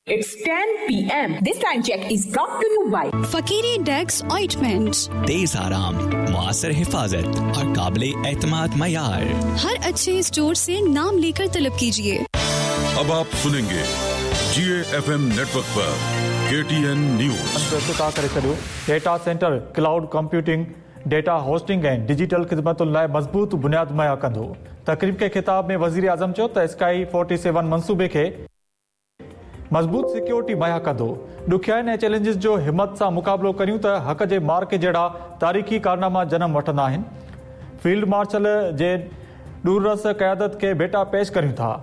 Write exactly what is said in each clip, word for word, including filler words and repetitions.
It's ten P M. This time check is brought to you by Fakiri Dex Ointment। तेज आराम, मुआसर हिफाजत और काबिल एतमाद मयार। हर अच्छे स्टोर से नाम लेकर तलब कीजिए। अब आप सुनेंगे जी एफ एम नेटवर्क पर के टी एन न्यूज़। इफ्तिताह करे छॾियो। Data centre, cloud computing, data hosting ऐं डिजिटल ख़िदमतुनि लाइ मज़बूत बुनियाद मुहैया कंदो। तक़रीब खे ख़िताब में वज़ीर आज़म चयो त स्काई फोर्टी सेवन मंसूबे खे मज़बूत सिक्योरिटी मुहैया कंदो। ॾुखियाइनि ऐं चैलेंजिस जो हिमत सां मुक़ाबिलो करियूं त हक़ जे मार्क जहिड़ा तारीख़ी कारनामा जनम वठंदा आहिनि। फील्ड मार्शल जे दूररस क़यादत खे भेटा पेश करियूं था।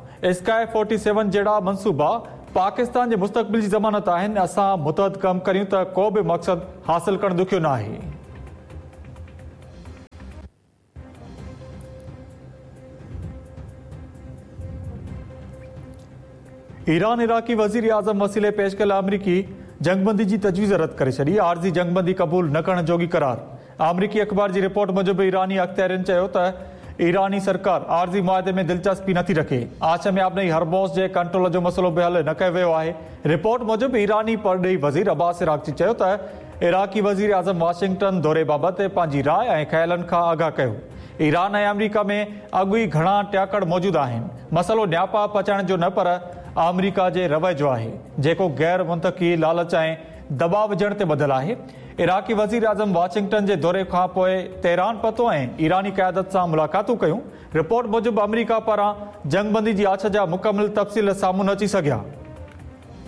स्काई फोर्टी सेवन जहिड़ा मंसूबा पाकिस्तान जे मुस्तक़बिल जी ज़मानत आहिनि। असां मुतहद कमु करियूं त को बि मक़सदु हासिल करणु ॾुखियो न आहे। ईरान इराकी वज़ीर आज़म वसीले पेश कयल अमरीकी जंगबंदी जी तजवीज़ रद्द करे छॾी। आर्ज़ी जंगबंदी क़बूल न करण जोगी करार। अमरीकी अख़बार जी रिपोर्ट मूजिबि ईरानी अख़्तियारियुनि चयो त ईरानी सरकार आर्ज़ी मुआहिदे में दिलचस्पी नथी रखे। आछ में आबनई हरमोस जे कंट्रोल जो मसइलो बि हल न कयो वियो आहे। रिपोर्ट मूजिबि ईरानी परॾेही वज़ीर अब्बास इराक़ची चयो त इराकी वज़ीर आज़म वाशिंगटन दौरे बाबति पंहिंजी राय ऐं ख़्यालनि खां आगाह कयो। ईरान ऐं अमरीका में अॻु ई घणा टियाकड़ मौजूदु आहिनि। मसइलो न्यापा पचाइण जो न पर अमरीका जे रवैये जो आहे, जेको गैर मुंतकी लालच ऐं दबाव विझण ते ॿधियल आहे। इराकी वज़ीर आज़म वाशिंगटन जे दौरे खां पोइ तेहरान पहुतो ऐं ईरानी क़यादत सां मुलाक़ातूं कयूं। रिपोर्ट मूजिबि अमरीका पारां जंगबंदी जी आछ जा मुकमिल तफ़सील साम्हूं न अची सघिया।